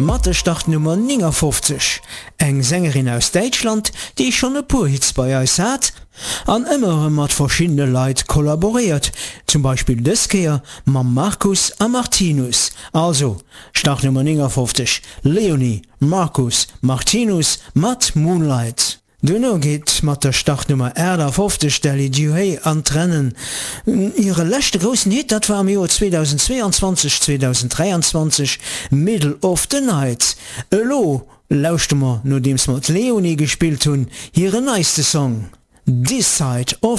Mat der Startnummer 59, eng Sängerin aus Däitschland, déi schonn e puer Hits bei eis hat an ëmmer erëm mat verschiddene Leit kollaboréiert, zum Beispill dës Kéier mam Marcus a Martinus. Also, Startnummer 59, Leonie, Marcus, Martinus mat Moonlight. Duerno geet mat der Startnummer 58 d'Ellie Duhé an d'Rennen. Hire leschte groussen Hit, dat war am Joer 2022, 2023 Middle of the Night. Elo lauschte mer, nodeems mer d'Leonie gespillt hunn, hiren neiste Song This Side of.